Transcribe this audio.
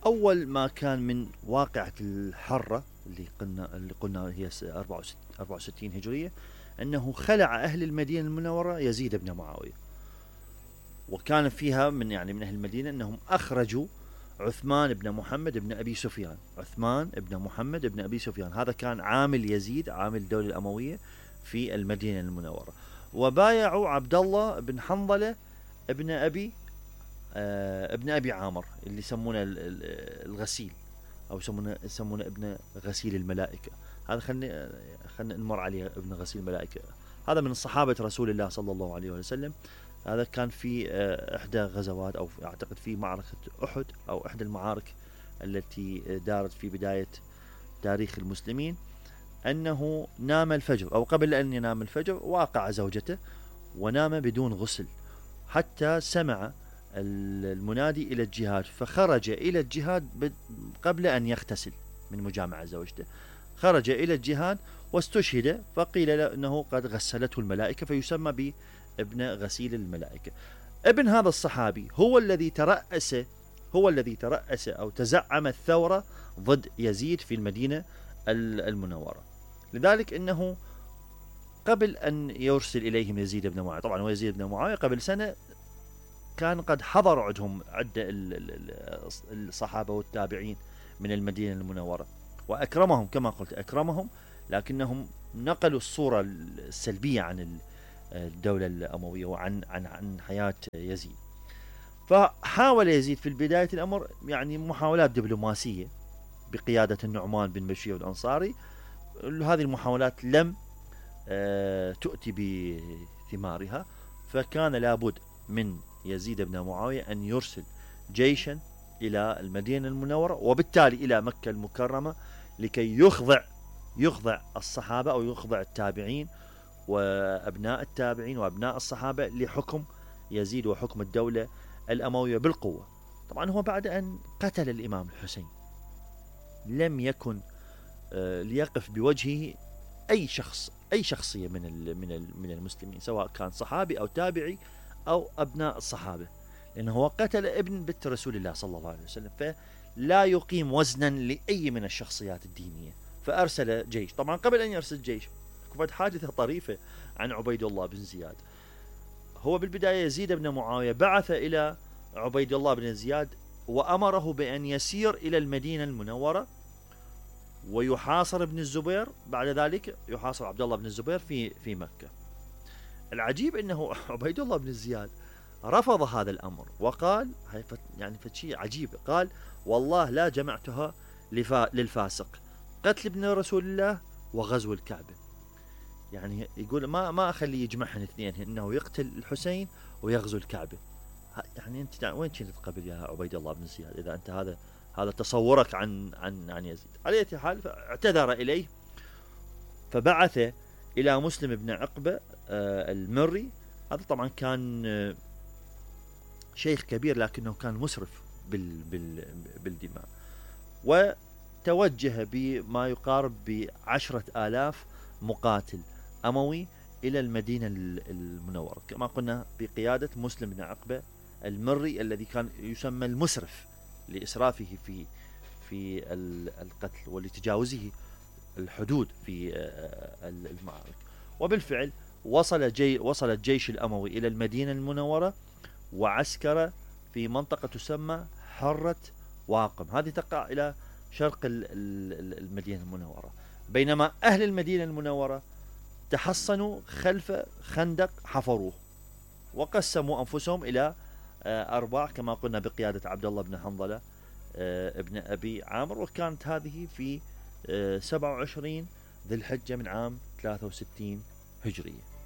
أول ما كان من واقعة الحرة اللي قلنا هي 64 هجرية، أنه خلع أهل المدينة المنورة يزيد بن معاوية، وكان فيها من أهل المدينة أنهم أخرجوا عثمان بن محمد بن أبي سفيان. عثمان بن محمد بن أبي سفيان هذا كان عامل يزيد، عامل الدولة الأموية في المدينة المنورة. وبايعوا عبد الله بن حنظلة ابن أبي عامر اللي يسمونه الغسيل، أو يسمونه ابن غسيل الملائكة. هذا خلنا نمر عليه، ابن غسيل الملائكة. هذا من صحابة رسول الله صلى الله عليه وسلم. هذا كان في إحدى غزوات، أو أعتقد في معركة أحد، أو إحدى المعارك التي دارت في بداية تاريخ المسلمين، أنه نام الفجر، أو قبل أن ينام الفجر واقع زوجته ونام بدون غسل، حتى سمع المنادي إلى الجهاد، فخرج إلى الجهاد قبل أن يغتسل من مجامعة زوجته. خرج إلى الجهاد واستشهد، فقيل له أنه قد غسلته الملائكة، فيسمى بابن غسيل الملائكة. ابن هذا الصحابي هو الذي ترأس أو تزعم الثورة ضد يزيد في المدينة المنورة. لذلك أنه قبل أن يرسل إليهم يزيد بن معاوية، طبعا هو يزيد بن معاوية قبل سنة كان قد حضر عندهم عدة الصحابة والتابعين من المدينة المنورة، وأكرمهم كما قلت، أكرمهم، لكنهم نقلوا الصورة السلبية عن الدولة الأموية وعن حياة يزيد. فحاول يزيد في بداية الأمر محاولات دبلوماسية بقيادة النعمان بن بشير الأنصاري. هذه المحاولات لم تؤتي بثمارها، فكان لابد من يزيد بن معاوية أن يرسل جيشا إلى المدينة المنورة، وبالتالي إلى مكة المكرمة، لكي يخضع الصحابة، أو يخضع التابعين وأبناء التابعين وأبناء الصحابة لحكم يزيد وحكم الدولة الأموية بالقوة. طبعا هو بعد أن قتل الإمام الحسين لم يكن ليقف بوجهه أي شخصية من المسلمين، سواء كان صحابي أو تابعي أو أبناء الصحابة، لأنه هو قتل ابن بنت رسول الله صلى الله عليه وسلم، فلا يقيم وزنا لأي من الشخصيات الدينية. فأرسل جيش. طبعا قبل أن يرسل جيش كانت حادثة طريفة عن عبيد الله بن زياد. هو بالبداية يزيد بن معاوية بعث إلى عبيد الله بن زياد وأمره بأن يسير إلى المدينة المنورة ويحاصر ابن الزبير، بعد ذلك يحاصر عبد الله بن الزبير في مكة. العجيب أنه عبيد الله بن زياد رفض هذا الأمر وقال، فشيء عجيب، قال: والله لا جمعتها للفاسق، قتل ابن رسول الله وغزو الكعبة. يقول ما أخلي يجمعهن اثنين، إنه يقتل الحسين ويغزو الكعبة. أنت وين كنت قبل يا عبيد الله بن زياد إذا أنت هذا تصورك عن يزيد؟ على أي حال فاعتذر إليه، فبعث إلى مسلم بن عقبة المري. هذا طبعا كان شيخ كبير، لكنه كان مسرف بالدماء، وتوجه بما يقارب ب10,000 مقاتل أموي إلى المدينة المنورة، كما قلنا بقيادة مسلم بن عقبة المري، الذي كان يسمى المسرف لإسرافه في القتل ولتجاوزه الحدود في المعارك. وبالفعل وصل الجيش الأموي إلى المدينة المنورة وعسكر في منطقة تسمى حرة واقم، هذه تقع إلى شرق المدينة المنورة، بينما أهل المدينة المنورة تحصنوا خلف خندق حفروه، وقسموا أنفسهم إلى أرباع كما قلنا بقيادة عبد الله بن حنظلة ابن أبي عامر. وكانت هذه في 27 ذي الحجة من عام 63 هجرية.